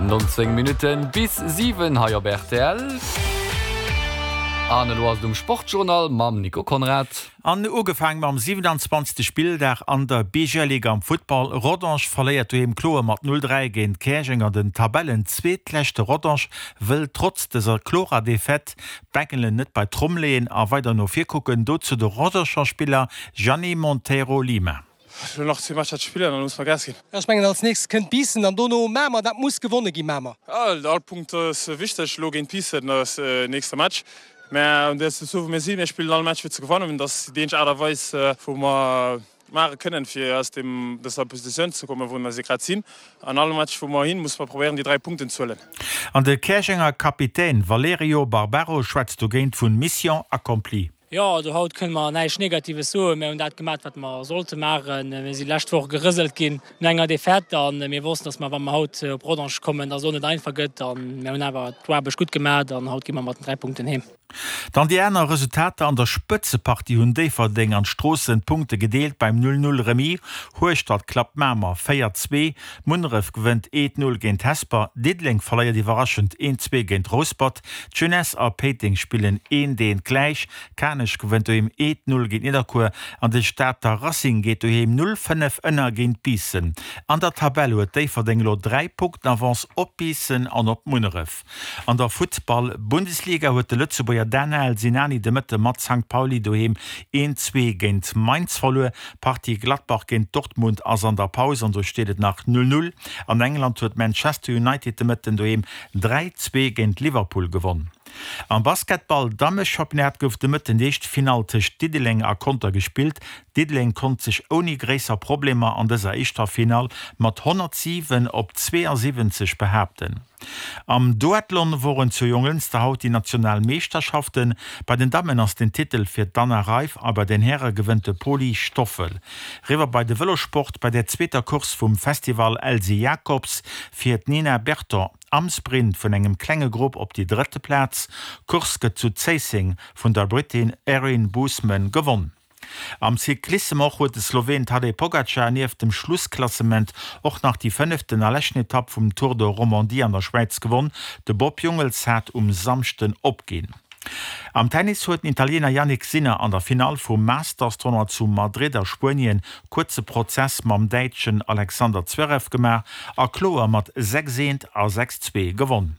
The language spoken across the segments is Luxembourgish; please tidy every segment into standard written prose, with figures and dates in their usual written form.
19 Minutten bis 7 hei op rtl. An elo ass et um Sportjournal mam Nico Conrad. An ugefaang mam 27. Spilldag an der BGL-Liga am Futtball. Rodange verléiert doheem kloer mat 0, 3 géint Käerjeng an den Tabellenzweetleschte Rodange wëll trotz dëser klorer Defaite d'Bengelen net bei d'Tromm leeën a weider no vir kucken. Dozou de Rodanger Spiller Gianni Monteiro Lima. Elo nach zwee Matcher ze spillen an dann muss mer Gas ginn. Ech mengen als nächstes kënnt Biissen an dono Mamer. Dat muss gewonne ginn, Mamer. All Punkt ass wichteg. Elo géint Biissen ass nächste Match. Mä un där Situatioun wou mir sinn, mir spillen all Match fir ze gewannen. Dat ass déi eenzeg Aart a Weis wou mer maache kënnen fir aus deem dëser Positioun ze kommen wou mer se grad sinn. An all Match wou mer hin, musse mer probéieren déi 3 Punkten ze huelen. An de Käerjenger Kapitän Valerio Barbaro schwätzt dogéint vun Mission accomplie. Jo, also haut kënne mer näischt Negatives soen. Mir hunn dat gemaat, wat mer sollte maachen. Mir si lescht Woch gerëselt ginn no enger Defaite a mir wossten, dass mer, wa mer haut op Rodange kommen, dass et och net einfach gëtt. A mir hunn awer d'Aarbecht gutt gemaat an haut gi mer mat den 3 Punkten heem. Dann déi aner Resultater, An der Spëtzepartie hunn Déifferdeng an Stroossen d'Punkte gedeelt beim 0, 0 Remis. Hueschtert klappt Mamer 4, 2, Munneref gewënnt 1, 0 géint Hesper, Diddeleng verléiert iwwerraschend 1, 2 géint Rouspert. D'Jeunesse a Péiteng spillen eent eent gläich, Kanech gewënnt doheem eent 0 géint Nidderkuer an de Stater Racing geet doheem 0, 5 ënner géint Biissen. An der Tabell huet Déifferdeng elo 3 Punkten Avance op Biissen an op Munneref. An der Futtball-Bundesliga huet de Lëtzebuerger Danael Sinani de Mëtte mat Sankt Pauli doheem 1, 2 géint Mainz verluer. D'Partie Gladbach géint Dortmund ass an der Paus an do steet et nach 0, 0. An England huet Manchester United de Mëtten doheem 3, 2 géint Liverpool gewonn. Am Basketball Dammechampionnat gouf de Mëtten déi éischt Finall tëscht Diddeleng a Conter gespillt. Diddeleng konnt sech ouni gréisser Problemer an dëser éischter Finall mat 107 op 72 behaapten. Am Duathlon woren zu Jonglënster haut déi national Meeschterschaften. Bei den Dammen ass den Titel fir d'Anna Reiff a bei den Häre gewënnt de Poli Stoffel. Riwwer bei de Vëlossport, Bei der zweeter Course vum Festival Elsy Jacobs fiert d'Nina Berton am Sprint vun engem klenge Grupp op déi drëtte Plaz. D'Course gëtt zu Zéisseng vun der Brittin Erin Boothman gewonn. Am Cyclissem och huet de Sloween Tadej Pogacar nieft dem Schlussklassement och nach déi fënneften a leschten Etapp vum Tour de Romandie an der Schwäiz gewonn. De Bob Jungels hat um Samschden opginn. Am Tennis huet den Italiener Jannik Sinner an der Finall vum Masters-Tournoi zu Madrid a Spuenien kuerze Prozess mam Däitschen Alexander Zverev gemaach a kloer mat 6 eent a 6 zwee gewonn.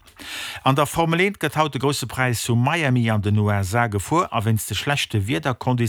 An der Formel 1 gëtt haut de Grousse Präis zu Miami an den USA gefuer a wéinst de schlechte Wiederkonditiounen.